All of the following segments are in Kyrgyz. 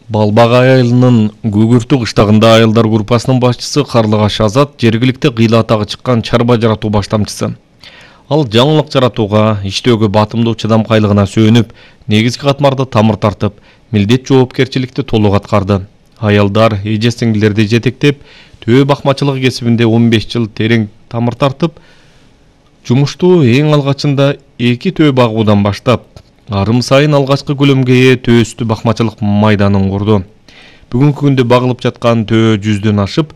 Балбагай айылынын Күгүртү кыштагында айылдар группасынын башчысы Карлыгаш Азат жергиликти кыйлаатага чыккан чарба жаратуу баштамчысы. Ал жаңылык жаратууга, иштөөгө батымдуу чыдамкайлыгына сүйөнүп, негизги катмарда тамыр тартып, милдет жоопкерчиликти толук аткарды. Аялдар, эже-сиңдилерди жетектеп, төө бакмачылык кесибинде 15 жыл терең тамыр тартып, жумушту эң алгачында 2 төө багуудан баштап, арым сайын алгачкы көлөмгө ээ төөстү бакмачылык майданын курду. Бүгүнкү күндө багылып жаткан төө 100дөн ашып,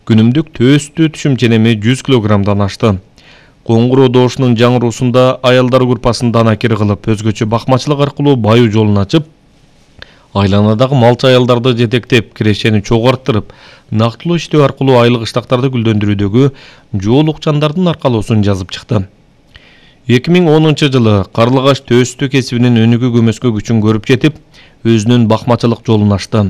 күнүмдүк төөстү түшүм ченеми 100 килограммдан ашты. Коңгуроо доошунун жаңыруусунда аялдар группасын данакер кылып, өзгөчө бакмачылык аркылуу баюу жолун ачып, айланадагы малчы аялдарды жетектеп, кирешени чогорттырып, нактылуу иштөө аркылуу айлык ыштактарды гүлдөндүрүүдөгү жоол укчандардын аркалоосун жазып чыкты. 2010 жылы Карлыгаш төөстү кесибинин өнүгүү көмөскө күчүн көрүп жетип, өзүнүн бакмачылык жолун ачты.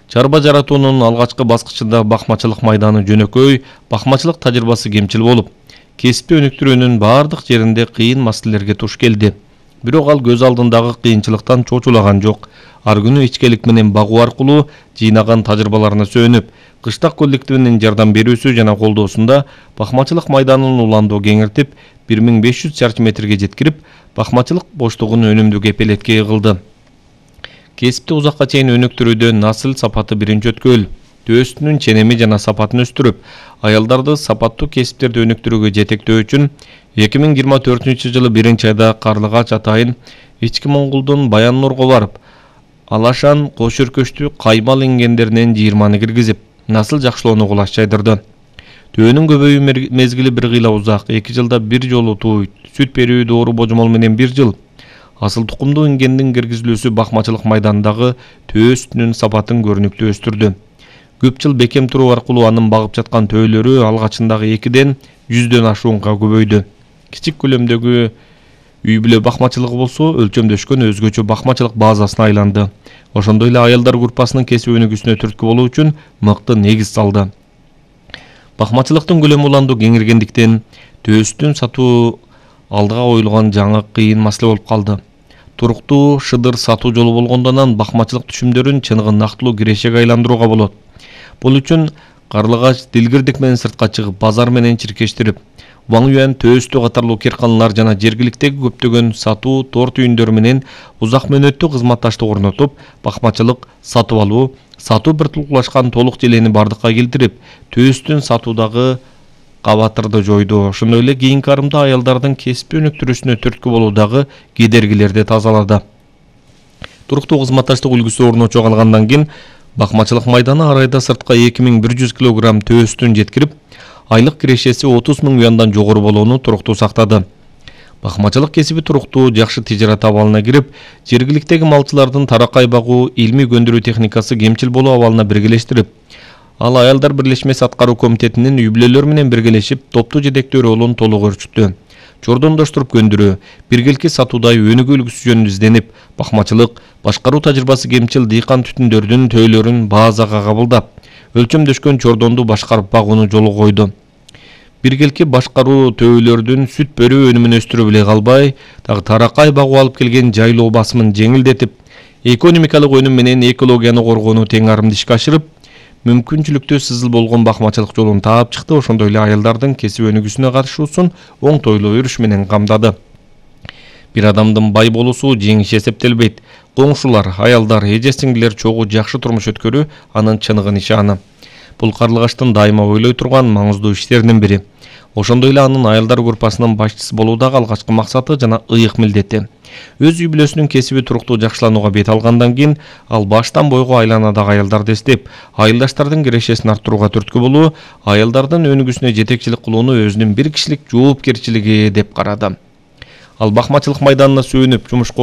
Чарба жаратуунун алгачкы баскычында бакмачылык майданы жөнөкөй, бакмачылык тажрыйбасы кемчил болуп, кесипти өнүктүрүүнүн бардык жеринде кыйын маселелерге туш келди. Бирок ал көз алдындагы кыйынчылыктан чочулаган жок. Ар күнү ичкелик менен багуу аркылуу жыйнаган тажрыйбаларына сүйөнүп, кыштак коллективинин жардам берүүсү жана колдоосунда бакмачылык майданын уландоо кеңиртип, 1500 чарчы метрге жеткирип, бакмачылык боштугун өнүмдүү кепелетке кылды. Кесипти узакка чейин өнүктүрүүдө насыл сапаты биринчи өткөл. Төөстүнүн ченеми жана сапатын өстүрүп, аялдарды сапаттуу кесиптерди өнүктүрүүгө жетектөө үчүн 2024 жылы 1-айда Карлыгач атайын Ички Моңгулдун Баян Нурга барып, алашан кош өркөчтүү каймал ингендеринен 20 киргизип, насыл жакшылоону кулаш жайдырды. Төөнүн көбөйүү мезгили бир кыйла узак, 2 жылда бир жолу тууйт, сүт берүү доору божомол менен 1 жыл. Асыл тукумдуу ингендин киргизилүүсү бакмачылык майданындагы төөстүнүн сапатын көрүнүктүү өстүрдү. Көп жыл бекем туруу аркылуу анын багып жаткан төөлөрү алгачындагы 2ден 100дөн ашуунга көбөйдү. Кичик көлөмдөгү үй бүлө бакмачылыгы болсо, өлчөмдөшкөн өзгөчө бакмачылык базасына айланды. Ошондой эле аялдар группасынын кесип өнүгүүсүнө түрткү болуу үчүн мыкты негиз салды. Бакмачылыктын көлөмү уланду кеңиргендиктен, төөстүн сатуу алдыга коюлган жаңы кыйын маселе болуп калды. Туруктуу шыдыр сатуу жолу болгондон бакмачылык түшүмдөрүн чыныгы нактылуу кирешеге айландырууга болот. Бул үчүн Карлыгач дилгирдик менен сыртка чыгып, базар менен чиркештирип, Ваң Юан төөстү катарлуу кирканалар жана жергиликтеги көптөгөн сатуу торт үйүндөрү менен узак мөөнөттүү кызматташтык орнотуп, бакмачылык, сатып алуу, сатуу бир тулкулашкан толук желени бардыкка келтирип, төөстүн сатуудагы кабатырды жойду. Ошондой эле кийинки арымда аялдардын кесип өнүктүрүүсүнө түрткү болуудагы кедергилерди тазалады. Туруктуу кызматташтык үлгүсү орночо калгандан кийин бакмачылык майданы ар айда сыртка 2100 килограмм төөстүн жеткирип, айлык кирешеси 30 000 юандан жогору болууну туруктуу сактады. Бакмачылык кесиби туруктуу жакшы тижарат абалына кирип, жергиликтеги малчылардын таракай багуу, илмий көндүрүү техникасы кемчил болуу абалына биргелештирип, ал аялдар бирлешмеси аткаруу комитетинин үй бүлөлөр менен биргелешип, топтуу жетектөө ролун толук өрчүттү. Чордондоштуруп көндүрүү, биргелки сатуудай өнүгүү үлгүсү жөнүндө изденип, бакмачылык, башкаруу тажрыйбасы кемчил дыйкан түтүндөрдүн төөлөрүн базага кабылдап, өлчөмдөшкөн чордонду башкарып багууну жолго койду. Биргелки башкаруу төөлөрдүн сүт берүү өнүмүн өстүрүп эле калбай, таракай багуу алып келген жайлоо басымын жеңилдетип, экономикалык өнүм менен экологияны коргоону тең арымды ишке ашырып, мүмкүнчүлүктүү сызыл болгон бакмачылык жолун таап чыкты. Ошондой эле аялдардын кесип өнүгүүсүнө катышуусун оңтойлуу өрүш менен камдады. Бир адамдын бай болуусу жеңиш эсептелбейт. Коңшулар, аялдар, эже-сиңдилер чогуу жакшы турмуш өткөрүү анын чыныгы нишаны. Бул Карлыгаштын дайыма ойлой турган маңыздуу иштеринин бири. Ошондой эле анын аялдар группасынын башчысы болуудагы алгачкы максаты жана ыйык милдети. Өз үй бүлөсүнүн кесиби туруктуу жакшыланууга бет алгандан кийин, ал баштан бойго айланадагы аялдарды эстеп, айылдаштардын кирешесин арттырууга түрткү болуу, аялдардын өнүгүүсүнө жетекчилик кылууну өзүнүн бир кишилик жоопкерчилиги деп карады. Ал бакмачылык майданына сүйөнүп, жумушка